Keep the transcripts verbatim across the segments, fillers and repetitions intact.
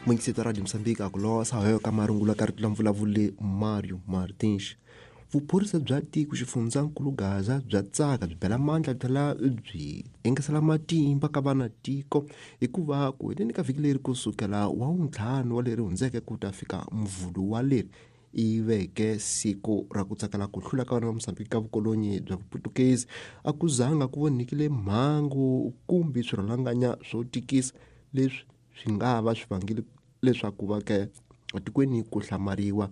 Muyingiseti Radio Mozambique a ku losa hoyo ka marungula ka rito la mvulavuli Mario Martins. Vuphorisa bya tiko xifundzankulu Gaza bya tsaka byi bela mandla tlhela byi engesela matimba ka vana tiko hikuva ku heleni ka vhiki leri kusukela wa wuntlhanu wa leri hundzeke ku ta fika mvhulu wa leri i veke siku ra ku tsakela ku hlula ka vana va Mozambique ka vukolonyi bya Vuputukezi a ku zanga ku vonekile mhangu kumbe swirhalanganya swo tikisa leswi swi nga va swi vangile leswaku va ke etikweni ku hlamariwa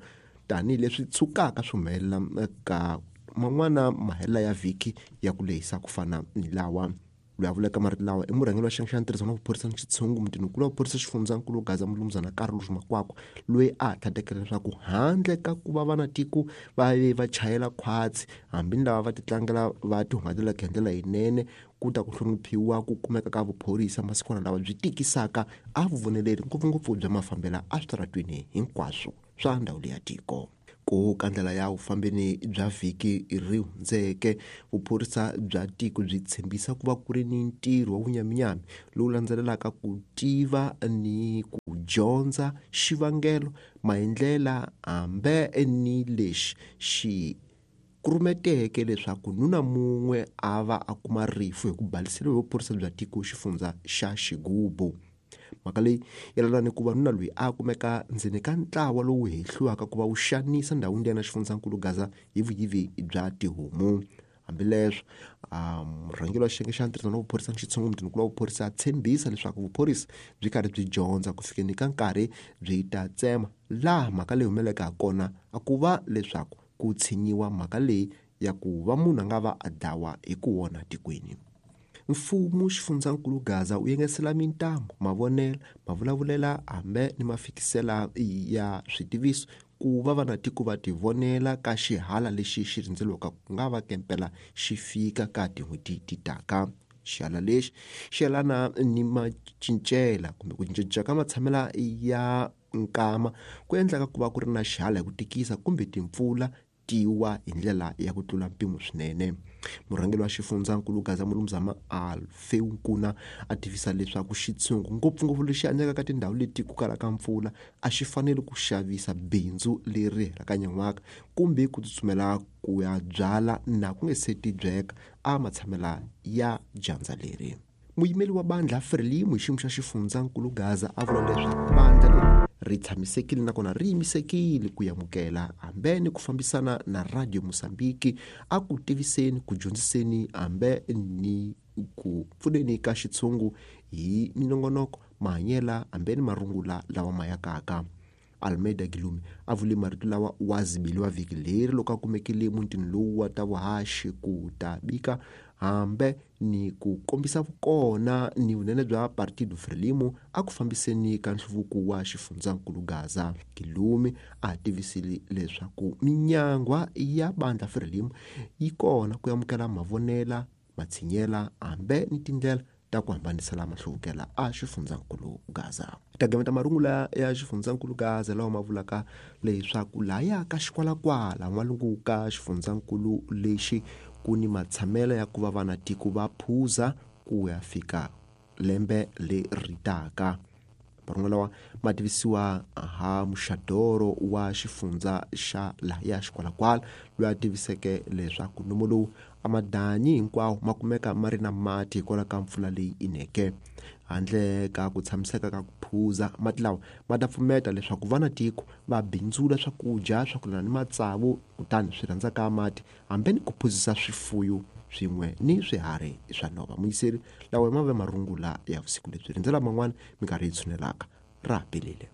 tanihileswi tshukaka swi humelela ka man'wana mahela ya vhiki ya ku lehisa ku fana ni lawa. Loyi a vulaka marito lawa i murhangeri wa xiyenge xa ntirhisano wa vuphorisa ni xitshungu mutinikulu wa vuphorisa xifundzankulu Gaza Mulumuzana Carlos Makwakwa loyi a tlhandlekela leswaku handle ka ku va vanatiko va ve va chayela khwatsi hambi ni lava va titlangela va tihungatelaka hi ndlela yinene ku ta ku hloniphiwa ku kumeka ka vuphorisa masikwana lawa byi tikisaka a vuvoneleri ngopfungopfu bya mafambela eswitaratweni hinkwaswo swa ndhawu leya tiko. Ku ka ndlela ya vufambeni bya vhiki ri hundzeke vuphorisa bya tiko byi tshembisa ku va ku ri ni ntirho wa vunyaminyami lowu landzelelaka ku tiva ni ku dyondza xivangelo maendlela hambe ni lexi xi kurumeteke leswaku nuna mun'we a va a kuma rifu hi ku baliseriwa hi vuphorisa bya tiko xifundza xa Xigubu. Mhaka leyi yelana ni ku va nuna loyi a kumeka ndzeni ka ntlawa lowu hehliwaka ku va wu xanisa ndhawini liya na xifundzankulu Gaza hi vuyivi bya tihomu. Hambileswo murhangeri wa xiyenge xa ntirhisano wa vuphorisa ni xitshungu mutinikulu wa vuphorisa a tshembisa leswaku vuphorisa byi karhi byi dyondza ku fikeni ka nkarhi byi ta tsema laha mhaka leyi humeleleke ha kona a ku va leswaku ku tshinyiwa mhaka leyi ya ku va munhu a nga va a dlawa hi ku wona tikweni. Mfumo xifundzankulu Gaza wu yengesela mintamu mavonelo mavulavulela hambe ni mafikisela ya switiviso ku va vanatiko va tivonela ka xihala lexi xi rindzeliwaka ku nga va kempela xi fika ka tin'hweti ti taka. Xihala lexi xi yelana ni macincela kumbe ku cincacinca ka matshamela ya nkama ku endlaka ku va ku ri na xihala hi ku tikisa kumbe timpfula tiwa hi ndlela ya ku tlula mpimo swinene. Murhangeri wa xifundzankulu Gaza Mulumuzama Alfeu Nkuna a tivisa leswaku xitshungu ngopfungopfu lexi hanyaka ka tindhawu leti ku kalaka mpfula a xi fanele ku xavisa bindzu leri helaka nyan'waka kumbe ku tsutsumela ku ya byala na ku nge se tibyeka a matshamela ya dyandza leri. Muyimeri wa bandla Frelimo hi xiyimo xa xifundzankulu Gaza a vula leswaku bandla leri ri tshamisekile nakona ri yimisekile ku amukela hambe ni ku fambisana na Radio Mozambique a ku tiviseni ku dyondziseni hambe ni ku pfuneni ka xitshungu hi minongonoko mahanyela hambe ni marungula lawa ma yakaka. Almeida Gilumi a vule marito lawa wa zibeliwa vhiki leri loko a kumekile mutini lowu wa ta vuhaxi ku ta bika hambe ni ku kombisa vukona ni vunene bya Partido Frelimo a ku fambiseni ka nhluvuko wa xifundzankulu Gaza. Gilumi a tivisile leswaku minyangwa ya bandla Frelimo yi kona ku amukela mavonela matshinyela hambe ni tindlela ta ku hambanisela mahluvukela a xifundzankulu Gaza. Ta gameta marungula ya xifundzankulu Gaza lawa ma vulaka leswaku laya ka xikwalakwala n'walungu ka xifundzankulu lexi ku ni matshamela ya ku va vanatiko va phuza ku ya fika lembe leri taka. Marungula lawa ma tivisiwa ha muxadoro wa xifundza xa laya xikwalakwala loyi a tiviseke leswaku nomo lowu a madanyi hinkwawo ma kumeka ma ri na mati hikwalaho ka mpfula leyi ineke. Handle ka ku tshamiseka ka ku phuza mati lawa ma ta pfumeta leswaku vanatiko va bindzula swakudya swa ku lana ni matsavu kutani swi rhandzaka mati hambi ni ku phuzisa swifuyo swin'we ni swiharhi swa nhova. Muyiseri lawa ma ve marungula ya vusiku lebyi rindzela man'wana minkarhi yi tshunelaka ra pelele.